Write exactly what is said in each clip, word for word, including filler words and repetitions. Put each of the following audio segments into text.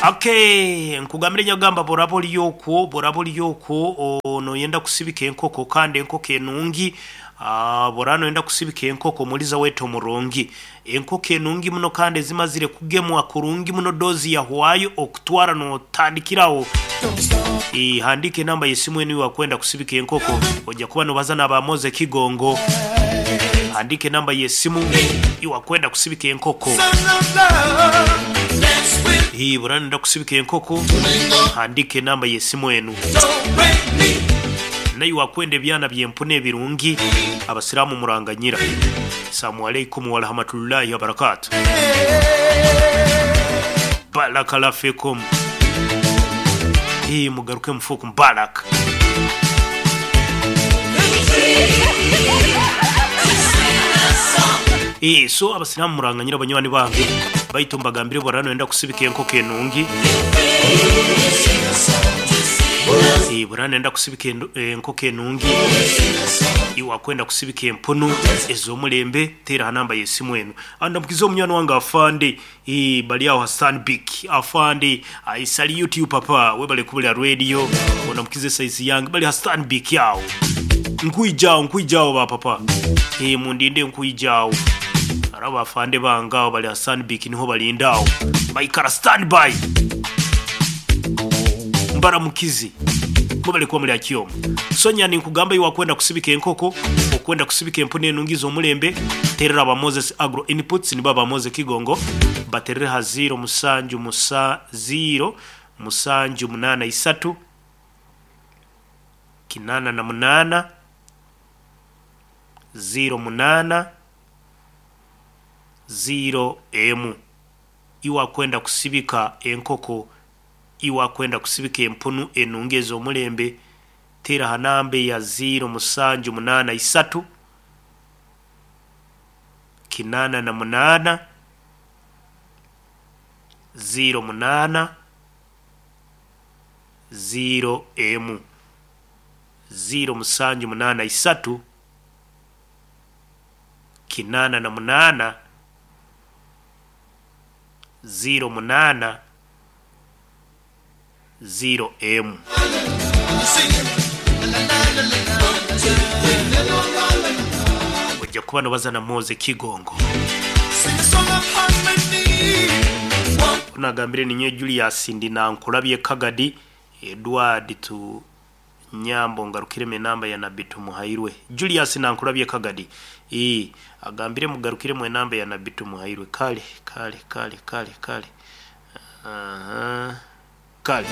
Okay, nkugambire nyagamba boraba ori okwo, boraba ori okwo noyenda kusibika enkoko kandi enkoko enungi. Ah, boraba noyenda kusibika enkoko muliza wetu omurungi, enkoko enungi muno kandi ezimazire kugemwa kurungi muno, dozi yahwayo okutwara notandikiraho. Eh, handika enamba y'esimu enu wakwenda kusibika enkoko, ojja kuba nobaza n'aba Moze Kigongo. Handika enamba y'esimu iwakwenda kusibika enkoko. Hii burana nenda kusibika enkoko, handika enamba y'esimu enu. Naye wakwenda ebyana by'empuna ebirungi, abasiraamu muranganyira. Assalamu alaikum warahmatullahi wabarakatuh. Barakallahu fikum. Hii mugaruke mufuuku mubaraka. Eh, so abasiraamu muranganyira banywani bange, baitu mbagambire borano enda kusibika enkoko enungi. Eh, burana enda kusibika endu- enkoko enungi, iwakwenda kusibika empunu ez'omulembe, teera ha namba y'esimu enu. Andamukiza omunywani wange afande, eh, bali aho Hassan Bik afande, I salute you papa, webale kubulira radio, ondamukize size yange bali Hassan Bik yawo, nkwijawo nkwijawo ba papa, eh, mundinde nkwijawo. Araba afande bange aho bali Hassan Bik niho balindawo, baikara standby. Mbaramukizi mubale kuba muri akiyoma. Sonya ninkugamba iwakwenda kusibika enkoko, okwenda kusibika empunu enungi z'omulembe, terera aba Moses Agro Inputs, nibo aba Moses Kigongo, baterere ha ziro musanju musa ziro musanju munana isatu kinana na munana ziro munana ziro emu. Iwakwenda kusibika enkoko, iwakwenda kusibika empunu enungi ez'omulembe, tera ha namba ya ziro musanju munana isatu kinana na munana ziro munana ziro emu. Ziro musanju munana isatu kinana na munana ziro munana ziro emu. Ojja kuba nobaza na Moze Kigongo. Onagambire ninye Julius ndi nankulabye Kagadi Edward tu Nyambo ngarukiremo enamba ya Nabbi Tumuhairwe. Julius nankulabye Kagadi, ee, agambire mugarukiremu enamba ya Nabbi Tumuhairwe. Kale kale kale kale kale. Aha. Kale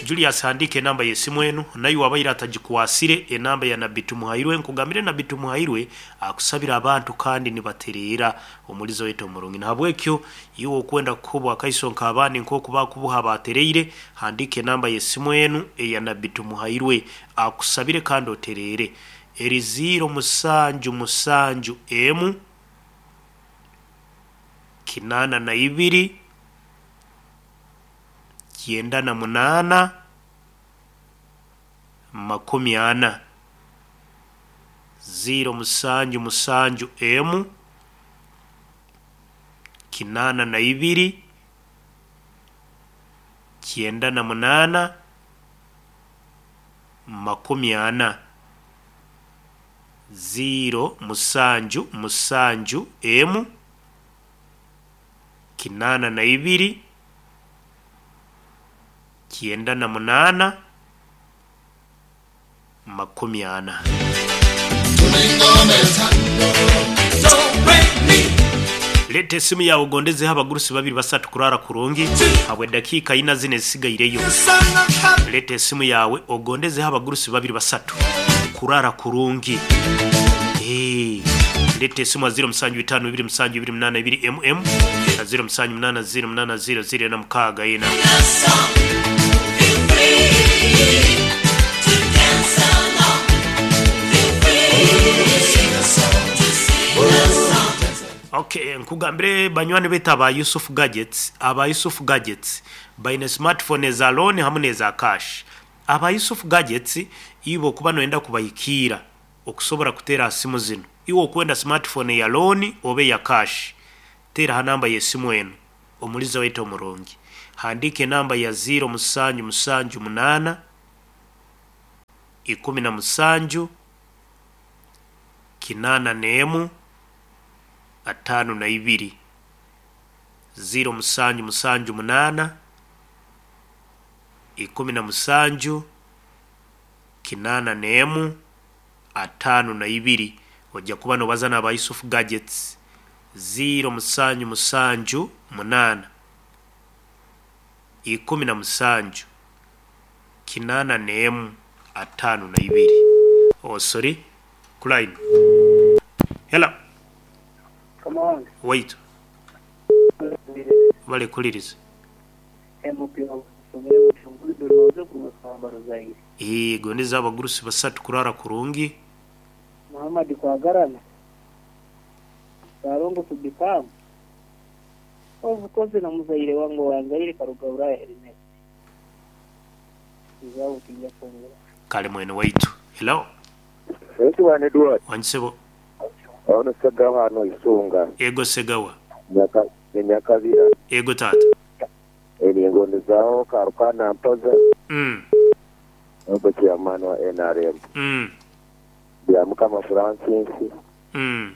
Julius handike enamba y'esimu enu, naye wabaire atagikwasire enamba ya Nabbi Tumuhairwe. Nkugambire Nabbi Tumuhairwe akusabira abantu kandi nibatereera omulizo wetu omurungi. Nahabwekyo iwe okwenda kukubwa akaiso nk'abandi nk'oku bakubuha batereire, handike enamba y'esimu enu eya Nabbi Tumuhairwe akusabire kandi otereere. Eri ziro musanju musanju emu kinana na ibiri kyenda na munana makumi ana. Ziro musanju musanju emu kinana na ibiri kyenda na munana makumi ana. Ziro musanju musanju emu kinana na ibiri kyenda na munana makumi ana. Leta esimu yawe ogondezeho abagurusi babiri basatu kurara kurungi habwe dakiika ina zine zisigaireyo. Leta esimu yawe ogondezeho abagurusi babiri basatu kurara kurungi. Eh, leta esimu ya ziro musanju bitano bibiri musanju bibiri munana ibiri mm na ziro musanju munana ziro munana ziro ziro na mukaaga ina. Okay, nkugambire banywani betu aba Yusuf Gadgets, aba Yusuf Gadgets baine smartphone eza loan hamwe n'eza cash. Aba Yusuf Gadgets ibo kuba noyenda kubahikiira okusobora kuteera ha simu zino. Iwe okwenda smartphone ya loan obe ya cash, teera ha namba y'esimu enu. Omuliza waitu omurungi, handiika enamba ya ziro musanju musanju munaana ikumi na musanju kinaana n'emu ataano na ibiri. Ziro musanju musanju munaana ikumi na musanju kinaana n'emu ataano na ibiri. Ojja kuba nobaza n'aba Yusuf Gadgets. Ziro musanju musanju munaana ikumi na musanju kinaana n'emu ataano na ibiri. Oh, sorry, ku line. Hello. Kama wange. Waitu balekuliriza. M P wasomere butunguzi runoze kumusambaro zaire. Gondeza abagurusi basatu kurara kurungi. Muhammad Kwagarana Sarongo Subikamu obukozi na muzaire wange wanzaire karuga Ulaya Ernest izabo kijja kwongera. Kale mwene waitu. Hello. Ensi wane Edward. Wansebo. Ono Segawa hano Isunga. Ego Segawa. Nyaka Nyakabira. Ego tata. Eni zao Karukana Mpoza. Mm. Ogo chairman wa N R M. Mm. Bya Mukama Francis. Mm.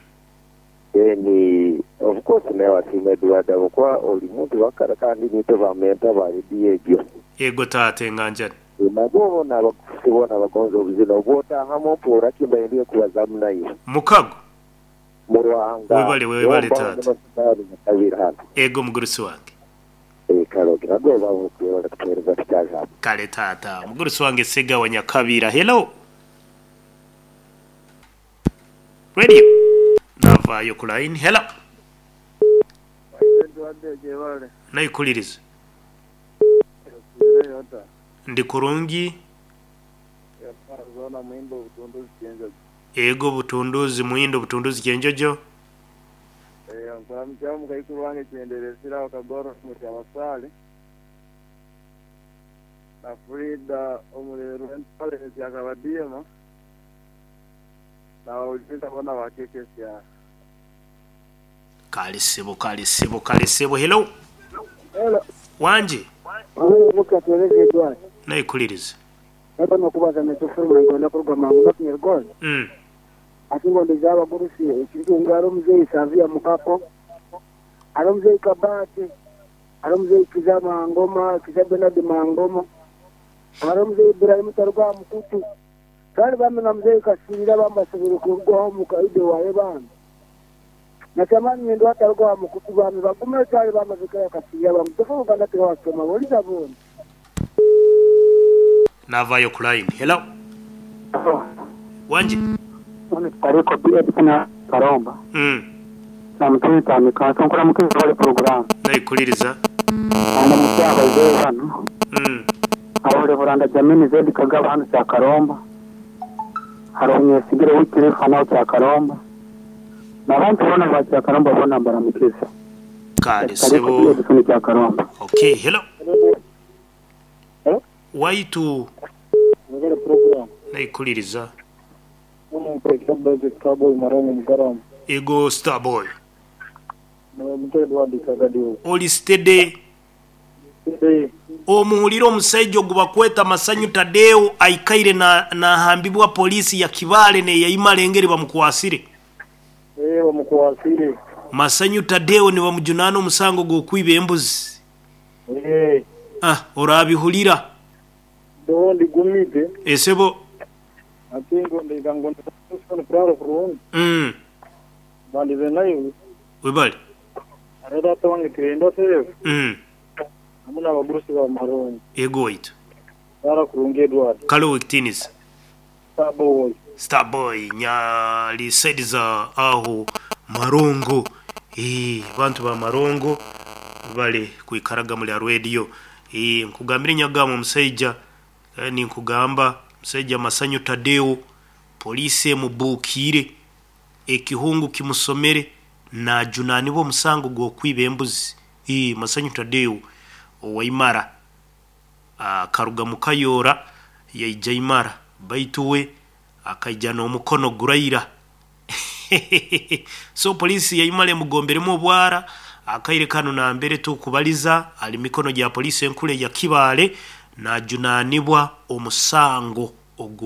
Eni of course naye wasiima Edward abukuba oli muntu wakara kandi nitwe bamenta ba radio. Ego tata, enganjani. Nabo bona abakusi bona bagonza obuzina obwotahamu mpuura kimbaire kubazamu nayo. Mukago. Mu Ruhanga. Webale, webale tata. Kabiri hano. Ego mugurusi wange. Kalogi nagwe babukuyola kutuhereza tukyajambo. Kale tata, mugurusi wange Segawa Nyakabira. Hello. Radio navaayo ku line. Hello. Nayikuliriza. Ndi kurungi. Ego Butunduzi, Muhindo Butunduzi Kyenjojo. Nkuramukiamu kaikuru wange kyenderesiraho Kagoro mukyabasale na Frida omulero entale ekyakabadiema na bona bakekesya. Kale sebo, kale sebo, kale sebo. Hello. Hello. Wanje. Mukatwereze Edward. Nayikuliriza. Nako nokubaza netufuruma ngona kuruga mangu nakunyergoza. Mm. Ati ngondeza abagurusi ekirikunga ari omuzeeyi Savia Mukako, ari omuzeeyi Kabate, ari omuzeeyi Kiza Mangoma, Kiza Benard Mangoma, ari omuzeeyi Ibrahim Taruga Mukutu, kandi bamwe na muzeeyi Kasirira bambasobere kurugwaho mukaide waye bambi natamani nyendo ataruga Mukutu bambi bagume cyari bamaze kaya Kasirira bambi tufuruga ndatiwasoma boliza boni. Navayo ku line. Hello. Wanje. Tariko B Edison Karomba. Mm. Na mutini tamika nkora mukizi wali program. Nayikuliriza. Anda mukyaba ze hano. Mm. Aho Reveranda Jamini Zedi Kagaba hano cya Karomba. Hari umwesigire w'ikirifa naho cya Karomba. N'abantu bona ba cya Karomba bona mbaramukiza. Kale Tariko sebo. B Edison cya Karomba. Okay, hello. Hello. Waitu. Mugere program. Nayikuliriza. Uno president Starboy Marongo Mugarama. Ego Starboy. Mutwe Edward Kagadiwo. Oli steady? Omuhulire omusajja ogu bakweta Masanyu Tadeo aikaire na nahambibwa polisi ya Kibale neyayimala engeri bamukwasire. Eh, bamukwasire. Masanyu Tadeo nibamujunaana omusango gw'okwiba embuzi. Eh. Ah, orabihulira. Ndondi gumite. Esebo. Ati ngondeka ngondeka kurara kurungi. Mm. Bandize nayo. Webale. Arada wange kirenda seyo. Mm. Hamuna abagurusi ba Marongo. Ego waitu. Rara kurungi Edward. Kale wekitiinisa. Starboy. Starboy nyali saidi za aho Marongo. Eh, bantu ba Marongo bale kwikaraga muri radio. Eh, nkugambira nyagamo omusajja eh, ninkugamba musajja Masanyu Tadeo polisi emubuukire ekihungu kimusomere najunanibwa omusango gw'okwiba embuzi. Eh, Masanyu Tadeo owaimara akaruga mukayora yaija imara baitu we akaija n'omukono guraira, so polisi yaimara emugomberemu obwara. Akaire kanu nambere tukubaliza ali mikono gya poliisi enkulu ya Kibaale najunanibwa omusango ogwo.